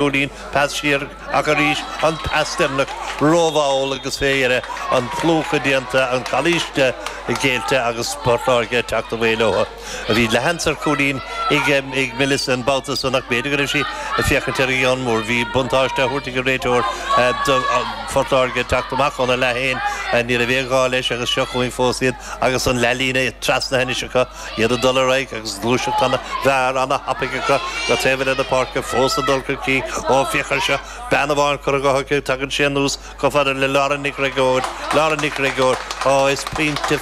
Cúilín, pas siar ach arís an pas deireanach rómhall agus fé dheireadh an plúchadh déanta, an calaoiste géillte agus Port Láirge ag teacht away leo. Bhí leathsheans ar chúilín ag Melissa an babhta san ach b'fhéidir go raibh sí ag féachaint ar an gceann mór. Bhí buntáiste á thabhairt ag an réiteoir do Phort Láirge ag teacht amach óna leath féin. Ní raibh aon ghá leis agus seo chugainn fós iad agus an leathlíne trasnaithe anois acu. Iad ag dul ar aghaidh agus gluaiseacht ana-mhear, ana-thapaidh acu go taobh eile na páirce, fós ag dul chun cinn. Ó, féach air seo, bean amháin curtha dhe aici, tagann sé anuas chomh fada le Lauren Nic Gréagóir, Lauren Nic Gréagóir, Á, is pointe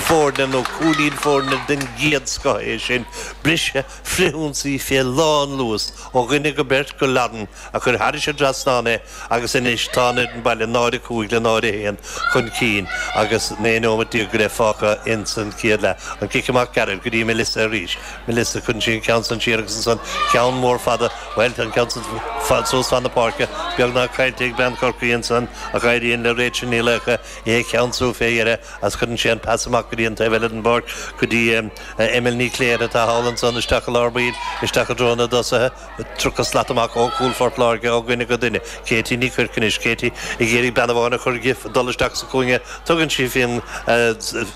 foirne nó cúilín foirne den gcéad scoth é sin. Briseadh frithionsaí fé lán-luas ó dhuine go beirt go Lauren a chuir thairis an dtrasnán é agus anois tá an fhoireann baile 0-5 le 0-1 chun cinn agus 19 nóimeat go leith fágtha ins an chéad leath. An cic amach gairid go dtí Melissa arís. Melissa, cuireann sí an ceann san siar agus ansan ceann mór fada, bhuel tá an ceann san suas fan na páirce, beagnach caillte ag bean Chorcaí ansan ach éiríonn le Rachel Ní Laochdha é a cheansú fé dheireadh agus cuireann sí an pas amach go dtí an taobh eile den bpáirc go dtí Emil Ní Chléire atá thall ansan isteach i lár baill, isteach i dtreo na dtosaithe. 30 slat amach ó chúl Phort Láirge ó dhuine go duine. Katie Ní Chuirc anois. Katie ag iarraidh bean amháin a chur di dul isteach sa chúinne. Tugann sí faoin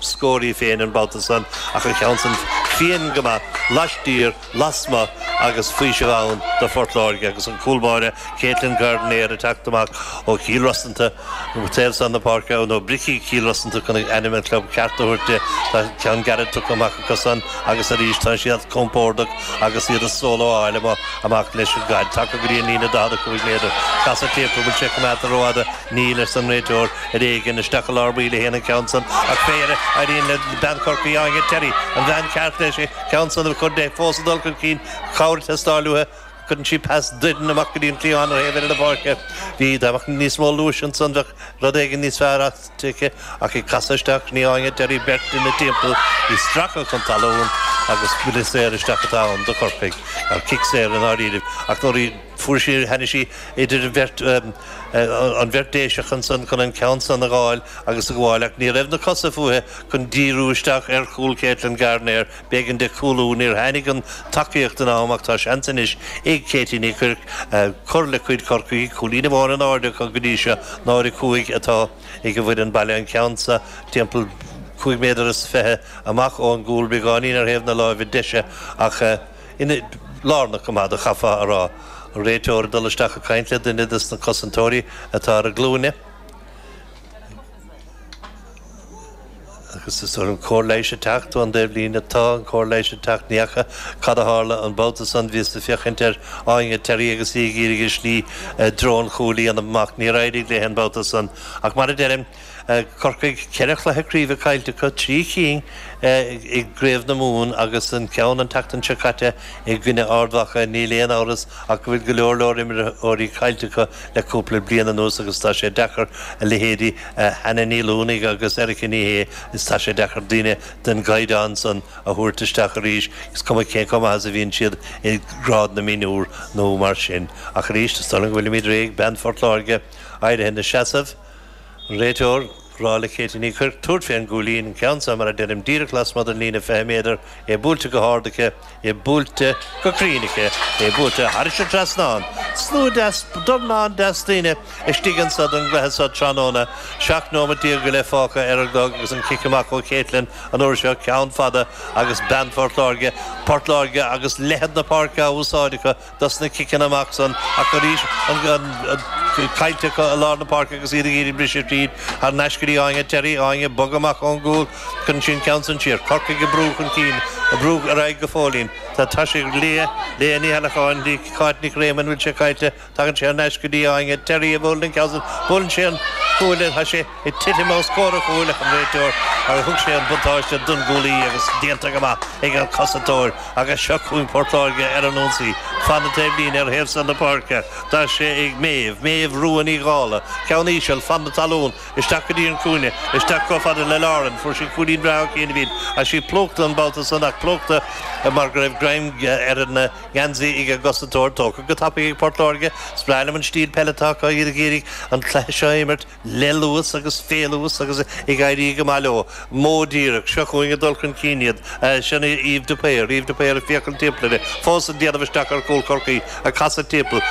scór í féin an babhta san ach an ceann san fiain go maith laistiar, lasmuigh agus faoiseamh ann do Phort Láirge agus an cúl báire Caitlin Gardiner ag teacht amach ó Chill Rosanta. Taobh san na páirce, nó Bricí Chill Rosanta chun ainm an chlub ceart a thabhairt di. Tá ceann gairid tugtha amach acu san agus arís tá siad compordach agus iad a solo a fháil amuigh amach leis an gcaid. Tagtha go dtí an líne 45 méadar. Casadh timpeall, bhfuil sé coimeádta rófhada? Níl, arsa an réiteoir. Ar éigean, isteach i lár baill a théann an ceann san ach fé dheireadh éiríonn le bean Chorcaí Áine Terry, an bhean cheart leis an ceann san a chur de, fós ag dul chun cinn, cabhair ag teastáil uaithi. Cuireann sí pas doirn amach go dtí an cliathán ar thaobh eile na páirce. Bhí, dá mbeadh níos mó luais ansan bheadh rud éigin níos fearr aici ach ag casadh isteach ní Áine Terry beirt ina timpeall, í stractha chun talún agus buille saor isteach atá ann do Chorcaigh, ar cic saor i ndáiríribh ach nuair a fuair sí, tháinig sí idir an bheirt, an bheirt Déiseach ansan chun an ceann san a dh'fháil agus a ghabháil ach ní raibh na cosa fúithi chun díriú isteach ar chúl Caitlin Gardiner. B'éigean di cúlú. Níor tháinig an tacaíocht in am ach tá seans anois ag Katie Ní Chuirc cur le cuid Chorcaí. Cúilín amháin in airde acu go dtí seo, 0-5 atá ag an bhfoireann baile. An ceann seo timpeall 25 méadar amach ón gcúl, beagáinín ar thaobh na láimhe deise ach ina lárnach go maith do chaithfeá a rá. An réiteoir ag dul isteach ag caint le duine des na cosantóirí atá ar a glúine. Agus is an cóir leighis ag teacht ón dtaobhlíne. Tá an cóir leighis ag teacht. Ní fhaca cad a tharla an babhta san. Bhíos ag féachaint ar Áine Terry agus í ag iarraidh a slí i dtreo an chúil a dhéanamh amach. Níor éirigh léi an babhta san. Ach mar a deirim, Corcaigh, ceithre chluiche craoibhe caillte acu, trí chinn i gCraobh na Mumhan agus an ceann an tseachtain seo caite i gcoinne Ard Mhacha. Níl aon amhras ach go bhfuil go leor leor imreoirí caillte acu le cúpla bliain anuas agus tá sé deacair a leithéidí Hannah Ní Luanaigh agus Erica Ní Shé, is tá sé deacair daoine den gcaighdeán san a thabhairt isteach arís, is cuma cén chomh maith is a bhíonn siad i ngrád na mionúr nó mar sin. Ach arís, is dóigh liom go bhfuilimid réidh, bean Phort Láirge éirithe ina seasamh. An réiteoir ag rá le Katie Ní Chuirc tabhairt fén gcúilín, an ceann seo, mar a deirim, díreach lasmuigh den líne 20 méadar, é buailte go hard aici, é buailte go cruinn aici, é buailte thairis an trasnán. Slua deas, dornán deas daoine istigh anso don gcluiche seo tráthnóna. 17 nóimeat go leith fágtha ar an gclog agus an cic amach ó Caitlin an uair seo, ceann fada agus bean Phort Láirge, Port Láirge agus leithead na páirce á úsáid acu. dos na ciceanna amach san ach arís an caillte acu i lár na páirce agus iad ag iarraidh briseadh tríd thar n-ais go dtí Áine Terry, Áine ag bogadh amach ón gcúl, cuireann sí an ceann san siar. Corcaigh ag brú chun cinn, ag brú ar aghaidh go fóillín. Tá tá sé ag Leah, Leah Ní Cheallacháin, dtí Cáit Nic Réamoinn, bhfuil sé caillte? Tagann sé thar n-ais go dtí Áine Terry a bhuaileann an ceann san, buaileann sé an cuaille, tá sé ag titim os comhair an chúil ach an réiteoir agus thug sé an buntáiste don gcúlaí agus déanta go maith ag an cosantóir agus seo chugainn Port Láirge ar an ionsaí fan na taobhlíne ar thaobh san na páirce. Tá sé ag Méabh, Méabh Rua Ní Dhála, ceann íseal fan na talún isteach go dtí an cúinne, isteach chomh fada le Lauren, fuair sí cúilín breá ó chianaibh ach sí plúchta an babhta san ach. Plúchta mar go raibh greim ar an ngeansaí ag an gcosantóir. Tógtha go tapaidh ag Port Láirge. Is breá liom an stíl peile atá acu, iad ag iarraidh an cluiche seo a imirt le luas agus fé luas agus ag éirí go maith leo. Modh díreach. Seo chugainn ag dul chun cinn iad. Sin é Yves de Paor. Yves de Paor ag féachaint timpeall air. Fós ag déanamh isteach ar chúl Chorcaí. Ag casadh timpeall.